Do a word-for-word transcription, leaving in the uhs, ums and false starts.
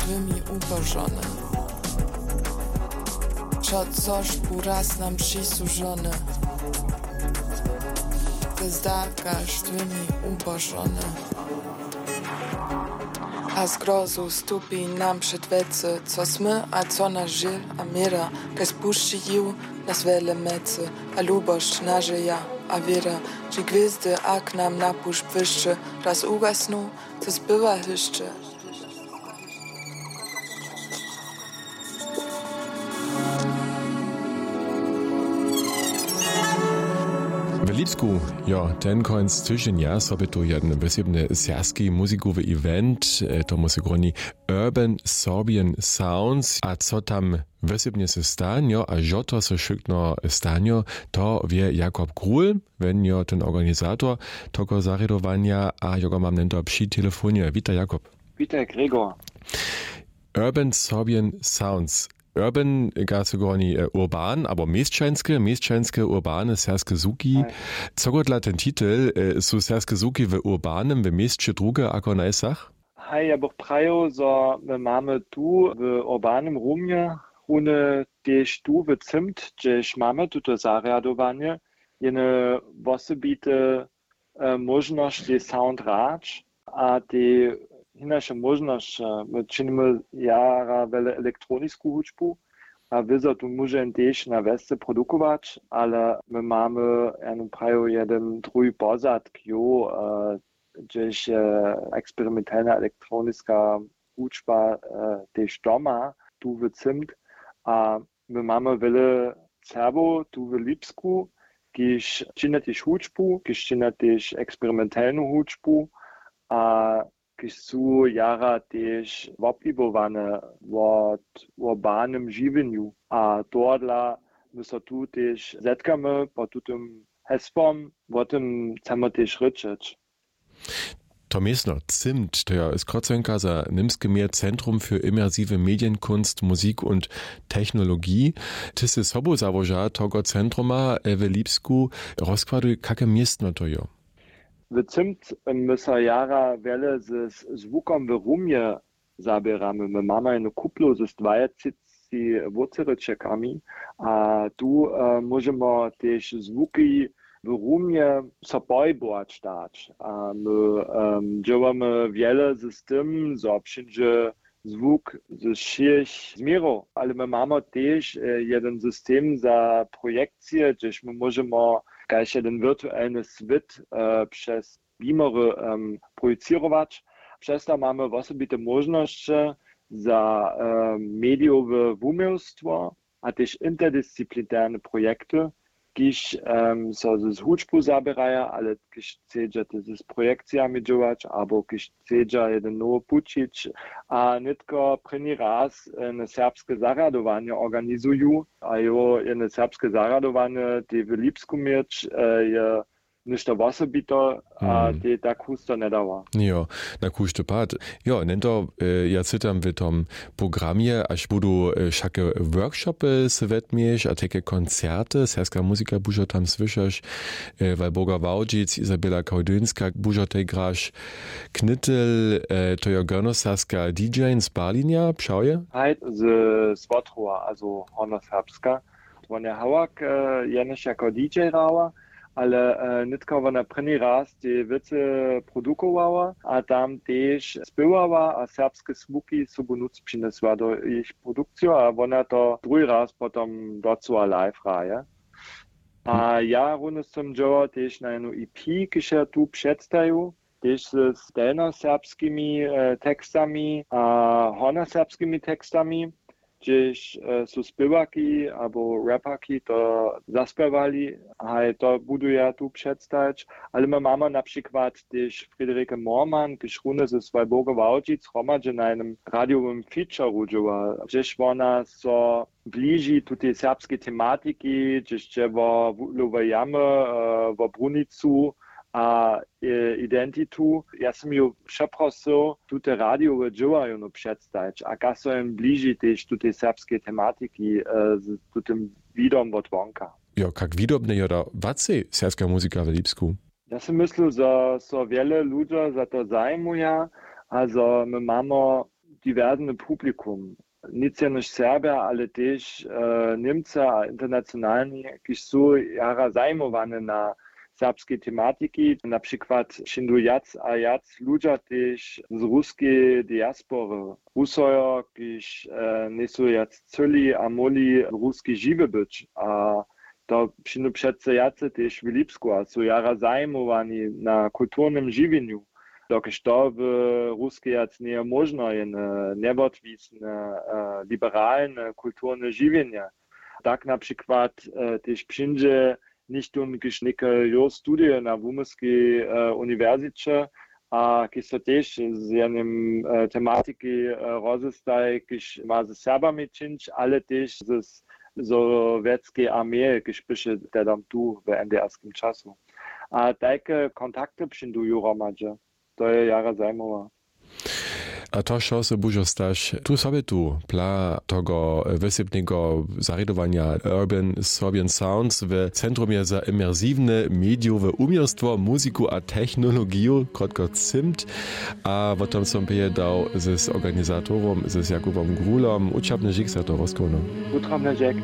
Štwymi ubožone. Wšo což bu raz nam přisłužone. Te zdarka štwymi ubožone. A z grozu stupi nam před wece, co smy a co naš žil a měra, kaž spušći jiw nas wjele mece, a lubosć, nažeja a wěra, či gwězdy a k nam na pušć błyšće, raz ugasnu, to zbywa hyšće. W Lipsku, jo, ten kónc tyženja so by tu jedyn wosebny serbski muzikowy event, e, tomu se groni Urban Sorbian Sounds. A co tam wosebnje se stan, jo, a žo to so wšykno stanjo, to wje Jakob Gruhl, wen jo ten organizator togo zarjadowanja, a jogo mam nento při telefonje. Witaj, Jakob. Witaj, Gregor. Urban Sorbian Sounds. Urban, ga se groni, e, urban, abo měšćanske, měšćanske, urbane serbske zwuki. Haj. Cogodla ten titel, e, su serbske zwuki w urbanem, w měsće druge ako na wsach? Haj, ja bych prajił, zo my mamy tu w urbanym rumje, runje tež tu w Zimt, hdźež mamy tuto zarjadowanje, jene wosebite, e, móžnosć, tej sound hrać a tej hinaše móžnosće. My činimy jara wjele elektronisku hudźbu a wězo tu móže jen tež na wjesce produkować, ale my mamy, ja bym prajił, jedyn druhi pozadk, jo, e, hdźež je eksperimentalna elektroniska hudźba, e, tež doma tu w Zimt. A my mamy wjele Serbow tu w Lipsku, kiž činja tež hudźbu, kiž činja tež eksperimentalnu hudźbu a kiž su jara tež wobhibowane wot, wot urbanym žiwjenju. A tohodla my so tu tež zetkamy pod tutym hesłom, wo tym chcemy tež rěčeć. To městno Zimt, to je skrócenka za němske měr Zentrum für immersive Medienkunst, Musik und Technologie. Ty sy sobu załoža togo centruma, e, w Lipsku. Rozkładuj, kake městno to jo. W Zimt my so jara wjele z, z zwukom w rumje zaběramy. My mamy jednu kuplu z dwajatřiceći wocerěčekami a tu, e, móžemy tež zwuki w rumje so pohibować dać. A my, em, dźěłamy wjele z, z tym, zo přińdźe zwuk ze wšěch změrow, ale my mamy tež, e, jedyn system za projekcije, hdźež my móžemy kaž jedyn wirtualny swět, e, přez beamery, em, projicěrować. Přez to mamy wosebite móžnosće za, em, medijowe wuměłstwo a tež interdisciplinarne projekty, kiž, em, so z hudźbu zaběraja, ale kiž chcedźa tež z projekcijami dźěłać abo kiž chcedźa jedyn nowy pućić. A nětko prěni raz, e, jedne serbske zarjadowanje organizuju a jo, jedne serbske zarjadowanje, tej w Lipsku měć, e, je něšto wosebito a, mm, tej tak husto njedawa. Jo, na kóždy pad. Jo, nento, e, ja cytam w tom programje, až budu, e, wšake workshopy se wetměješ a tajke koncerty, serbska muzika bužo tam słyšaš, e, Walburga Wałdźic, Izabela Kałdynska, bužo tej graš Knytel, e, to jo gornoserbska D J z Berlinja, přał je? Haj, z, z Wotrowa, also Hornoserbska. Wón je hałak, e, jenož jako D J hrała, ale, e, nětko wona prěni raz tej wěcy produkowała a tam tež spěwała a serbske zwuki sobu nutř přinjesła do jich produkcije a wona to druhi raz potom docyła live hraje. A ja runje sym dźěłał tež na jednu E P, kiž ja tu předstaju, tež z delnjoserbskimi, e, tekstami a hornjoserbskimi tekstami, hdźež, e, su spěwarki abo raperki to zaspěwali. Haj, to budu ja tu předstać. Ale my mamy na přikład tež Friederike Moormann, kiž runje ze swojej Walburgej Wałdźic hromadźe na jednym radiowym featureju dźěła, hdźež wona so bliži tutej serbskej tematiki, hdźež dźe wo Wutlowe jamy, e, wo brunicu a, e, identitu. Ja sym ju přeprosył, tute radijowe dźěła jónu předstajić a kaž so jim bliži tež tutej serbskej tematiki, e, z tutym widom wot wonka. Jo, kak widobne jo da wacej serbska muzika w Lipsku? Ja sym myslił, zo so wjele ludźo za to zajimuja a zo my mamy diversny publikum. Nic jenož Serbja, ale tež Němcy a internacionalni, kiž su jara zajimowany na serbskej tematiki. Na přikład přińdu wjac a wjac ludźa tež z ruskej diaspory, Rusojo, kiž njejsu wjac chcyli a móhli w Ruskej žiwi być. A to přińdu přeco wjace tež w Lipsku a su jara zajimowani na kulturnym žiwjenju, dokelž to w Ruskej wjac njeje móžno, jene njewotwisne liberalne kulturne žiwjenje. Tak na přikład tež přińdźe něchtón, kiž něke jo studije na wuměłskej uniwersiće a kiž so tež z jenym tematiki rozestaji, kiž ma ze Serbami čińć, ale tež z sowjetskej armeje, kiž běše tehdam tu w NDR-skim času. A tajke kontakty přińdu ju hromadźe. To je jara zajimowe. A to wšo so bužo stać tu sobotu, pla togo wysebneho zarědowanja Urban Serbian Sounds w Centrumje za imersiwne medijowe uměłstwo, muziku a technologiju, krótko cimt. A potom som pěje dał z organizatorom, z Jakubom Grulom, wučerpny žik za to rozkołno. Wutrobny žik.